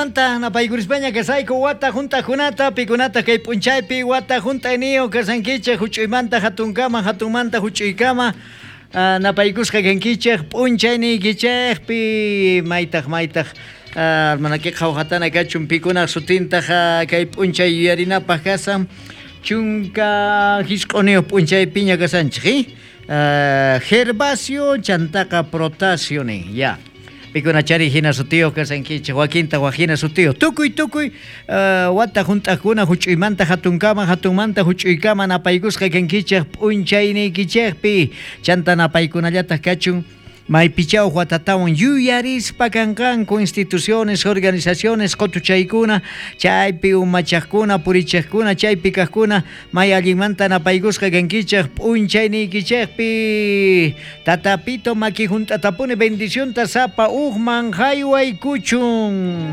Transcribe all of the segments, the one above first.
Ajinamanta napaykurispaña kasayku wata junt'ajkunata, pikunata kay p'unchaypi wata junt'ayniyo kasankichej juch'uymanta jatunkama, jatunmanta juch'uykama. Napaykusqa kankichej p'unchayniykichejpi maytaj maytaj hermanakiqa qhawjatana kachun pikunaj sutintaj kay p'unchay yuyarinapaj kasan 19 p'unchaypiña kasanchej Gervasio chantaqa Protasio nin ya pikunachari hina sutiyuq kasankichej wakinta waj hina sutiyuq tukuy tukuy wata junt'ajkuna juch'uymanta jatunkama jatunmanta juch'uykama napaykusqa kankichej p'unchayniykichejpi chanta napaykunallataj kachun maypichaw watatawan yuyarispa kanqanku instituciones, organizaciones qotuchaykuna chaypi umachajkuna purichejkuna chaypi kajkuna may allinmanta napaykusqa kankichej p'unchayniykichejpi tatapito maki junt'atapuni bendicionta sapa ujman jaywaykuchun.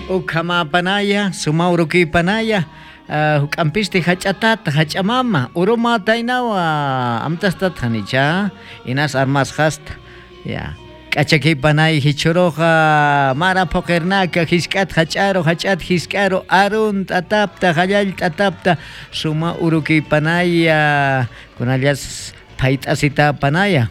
Ukhamapanaya, sumawrukiypanaya, huk'ampisti hach'atata, hach'amama, uruma taynawa, amtastata nicha, inas armasqasta, ya. K'achakiypanay hichuruqa mara phuqirnaka hisk'ata hach'aru, hach'ata hisk'aru, arun t'atapta, hallall t'atapta, suma urukiypanaya, kunallas phayt'asitapanaya,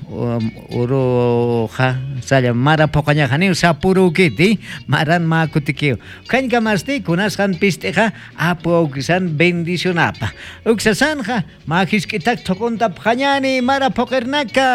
uruqa salla mara phuqañaqa niw sapurukiti, maran makutikiw. Khañkamasti kunasqan pist'iqa apu awkisan bendicionapa. Uksasanja ma hisk'itak thuqunta phañani mara phuqirnaka.